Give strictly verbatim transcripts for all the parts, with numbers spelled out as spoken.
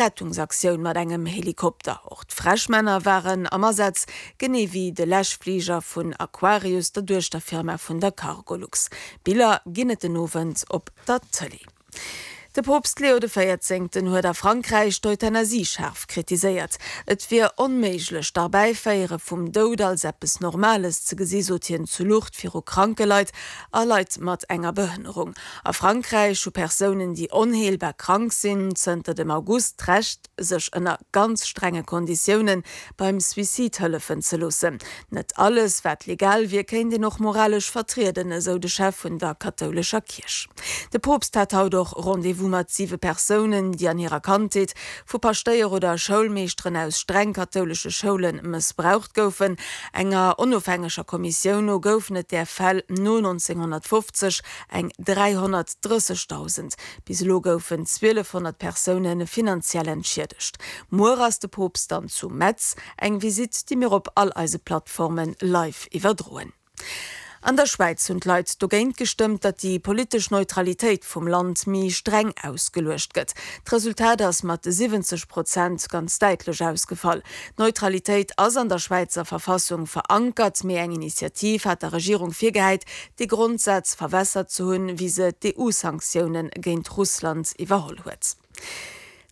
Rettungsaktioun mat engem Helikopter. Och d'Fräschmänner waren am Asaz, genee wéi de Läschfliger vun Aquarius, der Duechterfirma vun der Cargolux. Biller ginn et den Owend op der Tëlee. De Poopst Leo de Véierzéngten huet a Frankräich d'Euthanasie schaarf kritiséiert. Et wier onméiglech, d'Erbäiféiere vum Doud als eppes Normales ze gesi sot hien zu Lourdes viru kranke Leit a Leit mat enger Behënnerung. A Frankräich hu Persounen, déi onheelbar krank sinn, zënter dem August d'Recht, sech ënner ganz strenge Konditioune beim Suicide hëllefen ze loossen. Net alles, wat legal wier, kéint een och moralesch vertrieden, esou de Chef vun der kathoulescher Kierch. De Poopst hat haut och Rendez-vous mat siwe Persounen, déi an hirer Kandheet vu Paschtéier oder Schoulmeeschteren aus streng kathoulesche Schoule mëssbraucht goufen. Enger onofhängeger Kommissioun no goufen et där Fäll no nonzénghonnertfofzeg eng dräihonnertdrëssegdausend. Bis elo goufen zwielefhonnert Persoune finanziell entschiedegt. Muer ass de Poopst dann zu Metz, eng Visitt, déi mir op all eise Plattforme live iwwerdroen. An der Schwäiz hunn d'Leit dogéint gestëmmt, datt déi politesch Neutralitéit vum Land méi streng ausgeluecht gëtt. D'Resultat ass mat siwwenzeg Prozent ganz däitlech ausgefall. D'Neutralitéit ass an der Schwäizer Verfassung verankert, mee eng Initiativ hat der Regierung virgehäit, dee Grondsaz verwässert ze hunn, wéi se d'EU-Sanktioune géint Russland iwwerholl huet.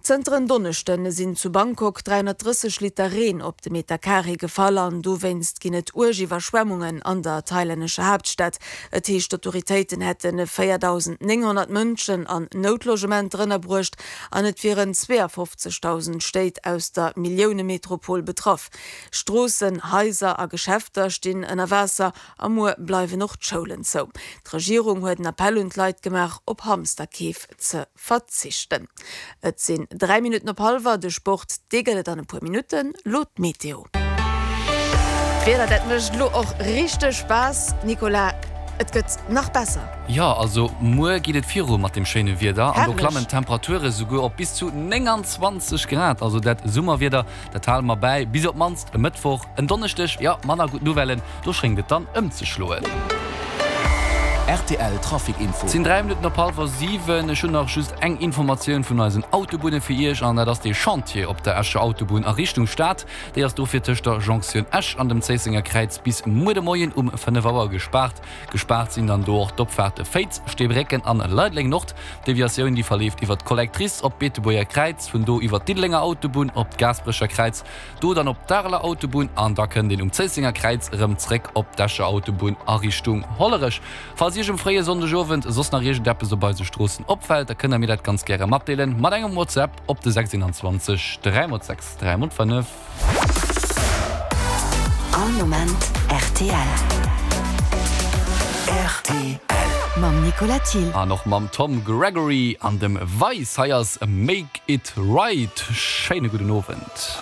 Zënter en Donneschde sinn zu Bangkok dräihonnertdrësseg Liter Reen op de Meter Carré gefall an dowéinst ginn et uerg Iwwerschwemmungen an der thailännescher Haaptstad. Et heescht, d'Autoritéiten hätte véierdausendnénghonnert Mënschen an Noutlogementer ënnerbruecht an et wieren zweeafofzegdausend Stéit aus der Milliounemetropol betraff. Stroossen, Haiser a Geschäfter stinn ënner Waasser a muer bleiwen och d'Schoulen zou. D'Regierung huet en Appell un d'Leit gemaach, op Hamsterkeef ze verzichten. Et sinn dräi Minutten op hallwer. De Sport, dee gëtt et an e puer Minutten. Lo d'Meteo. D'Wieder, dat mécht lo och richteg Spaass, Nicolas. Et gëtt nach besser. Jo, also muer geet et viru mat dem schéine Wieder an do klammen d'Temperature souguer op bis zu nénganzwanzeg Grad. Also dat Summerwieder, dat hale mer bäi bis op d'mannst e Mëttwoch. En Donneschdeg, jo, manner gutt Nouvellen, do schéngt et dann ëmzeschloen. Rtl Trafic Info. Et sinn dräi Minutten op hallwer siwen. Ech hunn nach just eng Informatioun vun eisen Autobunne fir Iech, an dat ass dee Chantier op der Escher Autobunn a Richtung Stad. Déi ass dofir tëscht der Jonktioun Esch an dem Zéissenger Kräiz bis muer de Moien um fënnef Auer gespaart. Gespaart sinn dann do och d'Opfaarte Féiz, Steebrécken an Leideleng Nord. D'Deviatioun déi verleeft iwwer d'Collectrice op d'Beetebuerger Kräiz, vun do iwwer d'Diddelenger Autobunn op d'Gaasperecher Kräiz, do dann op d'Areler Autobunn an da kënnt een um Zéissenger Kräiz erëm zréck op d'Escher Autobunn a Richtung Hollerech. Falls Iech um fréie Sonndegowend soss nach iergendeppes op eise Stroossen opfält, da kënnt der mir dat ganz gäre matdeelen mat engem WhatsApp op de sechs eenanzwanzeg dräi mol sechs dräi mol fënnef. All Moment rtl. Rtl. Mam Nicolas Thill. An och mam Tom Gregory an dem Vice. Hei ass Make It Right. Schéine gudden Owend.